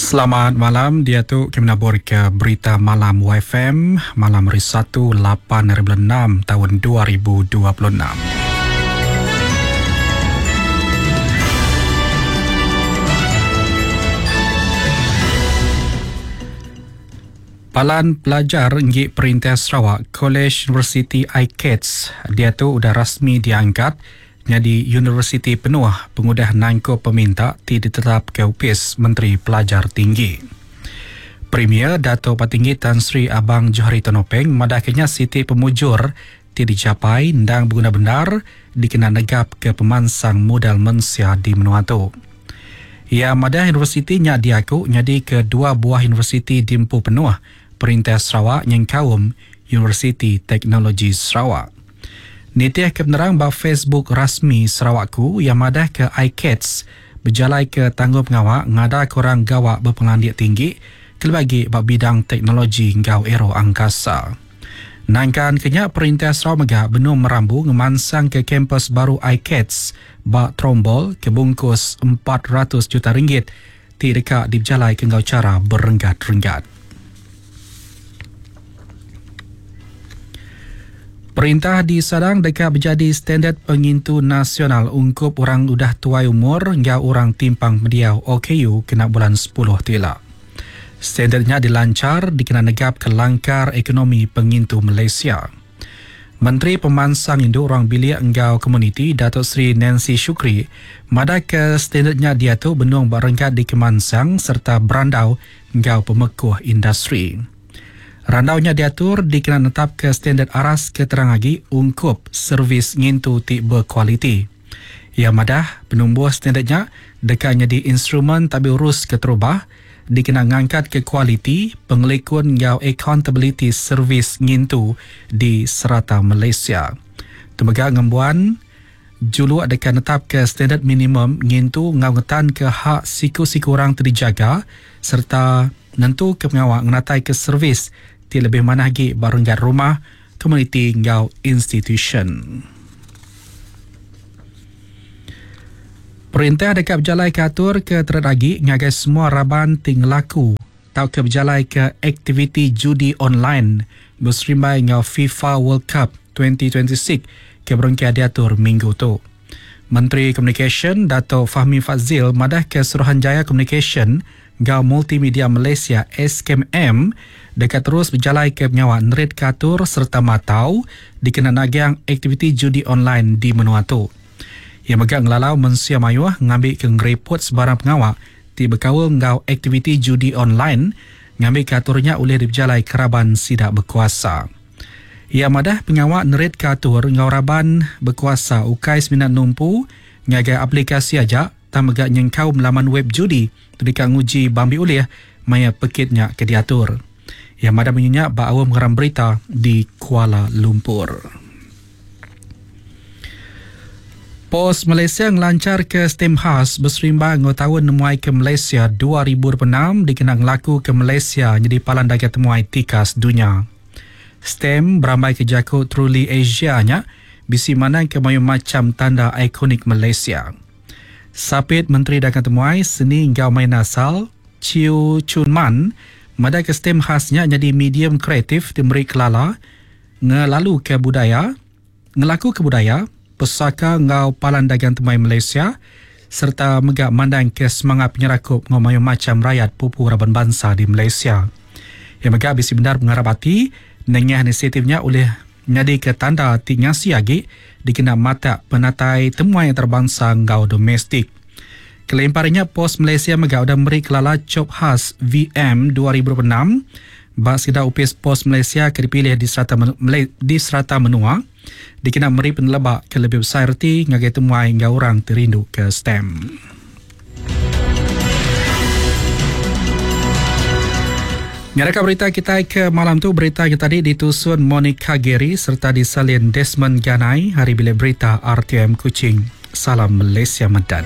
Selamat malam diatu kami nabur ke berita malam YFM malam hari Satu 8 hari bulan 6 tahun 2026. Palan Pelajar Enggi Perintah Sarawak Kolej Universiti ICATS diatu udah rasmi diangkat nyadi universiti penuh pengudah nangkup peminta ti ditetapka Opis Menteri Pelajar Tinggi. Premier Datuk Patinggi Tan Sri Abang Johari Tun Openg madahka nya siti pemujur ti dijapai endang beguna bendar dikena negapka pemansang modal mensia di menua tu. Iya madah universiti nya diaku nyadika dua buah universiti diempu penuh Perintah Sarawak nyengkaum Universiti Teknologi Sarawak. Nitihka penerang ba Facebook rasmi Sarawakku iya madahka ICATS bejalaika tanggungpengawa ngadaka orang gawa bepengelandik tinggi kelebih agi ba bidang teknologi enggau aeroangkasa. Nangkan ke nya perintah Sarawak mega benung merambu ngemansangka kampus baru ICATS ba Trombol ke bungkus 400 juta ringgit ti deka dipejalaika enggau chara berenggat-renggat. Perintah disadang deka bejadi standard pengintu nasional ungkup orang udah tuai umur enggau orang timpang pendiau OKU kena bulan sepuluh ti ila. Standard nya dilanchar dikena negapka langkar ekonomi pengintu Malaysia. Menteri Pemansang Indu Ruang Bilik enggau Komuniti Datuk Seri Nancy Shukri madahka standard nya diatu benung ba renggat dikemansang sereta berandau enggau pemekuh industri. Randau nya diatur dikena netapka standard aras ke terang agi ungkup servis ngintu ti bekualiti. Iya madah, penumbuh standard nya deka nyadi instrumen tabi urus keterubah dikena ngangkatka kualiti, pengelikun enggau akauntabiliti servis ngintu di serata Malaysia. Tu mega ngembuan juluk deka netapka standard minimum ngintu enggau ngetanka hak siku-siku orang ti dijaga sereta nentuka pengawa ngenataika servis ti lebih manah agi ba renggat rumah, komuniti enggau institusyen. Perintah deka bejalaika atur ke terit agi ngagai semua raban ti ngelaku tauka bejalaika aktiviti judi online beserimbai enggau FIFA World Cup 2026 ke berengkah diatur minggu tu. Menteri Komunikasyen Dato Fahmi Fadzil madahka Suruhanjaya Komunikasyen enggau Multimedia Malaysia, SKMM, deka terus bejalaika pengawa neritka atur sereta matau dikena nagang aktiviti judi online di menua tu. Iya mega ngelalau mensia mayuh ngambika ngeriput sebarang pengawa ti bekaul enggau aktiviti judi online ngambika atur nya ulih dipejalaika raban sida bekuasa. Iya madah pengawa neritka atur enggau raban bekuasa ukai semina numpu ngagai aplikasi aja tang mega nyengkaum laman web judi ti deka nguji bambi ulih maya pekit nya ke diatur. Iya madah munyi nya ba aum ngeram berita di Kuala Lumpur. Pos Malaysia ngelancharka stem khas beserimba enggau Taun Nemuai ke Malaysia 2026 dikena ngelakuka Malaysia nyadi palan dagang temuai tikas dunya. Stem berambaika jaku Truly Asia nya bisi mandangka mayuh macham tanda ikonik Malaysia. Sapit Menteri Dagang Temuai, Seni enggau Main Asal, Chew Chun Man madahka stem khas nya nyadi medium kreatif ti meri kelala ngelaluka budaya, ngelakuka budaya, pesaka enggau palan dagang temuai Malaysia sereta mega mandangka semangat penyerakup enggau mayuh macham rayat pupu raban bansa di Malaysia. Iya mega bisi bendar pengarap ati nengah inisiatif nya ulih nyadika tanda ti ngasi agi dikena matak penatai temuai antarabansa enggau domestik. Kelimpah ari nya, Pos Malaysia mega udah meri kelala chop khas VM 2026 ba sekeda opis Pos Malaysia ke dipilih di serata di serata menua dikena meri peneleba ke lebih besai reti ngagai temuai enggau orang ti rindu ke stem. Nyadaka berita kitai ke malam tu berita ke tadi ditusun Monica Gary serta disalin Desmond Ganai hari bilik berita RTM Kuching. Salam Malaysia Medan.